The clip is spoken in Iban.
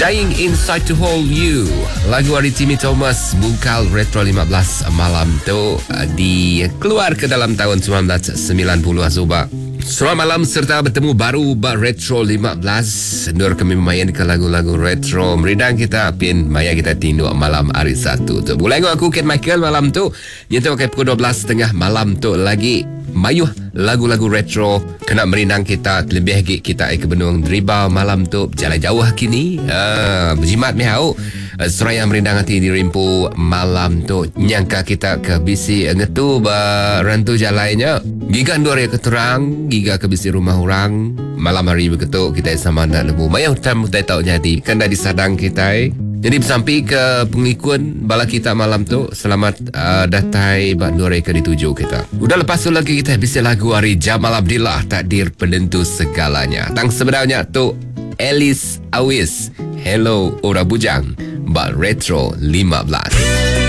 Dying Inside to Hold You Lagu ari Timmy Thomas Bungkal Retro 15 malam tu eh, Dikeluar ke dalam tahun 1990 suba Selamat malam serta betemu baru ba Retro 15 Endur kami memain ke lagu-lagu retro Meridang kita pin maya kita tinduk malam hari Satu tu Begulai enggau aku Ken Michael malam tu Nyentuk ke pukul 12.30 malam tu lagi Mayuh lagu-lagu retro kena merindang kita kelebih agi kita ai ke benung deriba malam tu bejalai jauh kini. Uh, bejimat meh au. Eh, seraya merindang ati diri empu malam tu nyangka kita ke bisi ngetu ba rantu jalai nya. Giga endur iya ke terang, giga ke bisi rumah orang. Malam hari begitu kita sama enda nemu mayuh utai utai tau nyadi kan enda disadang kitai. Jadi besampi ke pengelikun bala kita malam tu selamat uh, datai ba endur ke dituju kita. Udah lepas tu lagi kita bisi lagu ari Jamal Abdillah Takdir Penentu Segalanya. Tang sebenarnya tu Alice Awis Hello Ora Bujang ba Retro 15.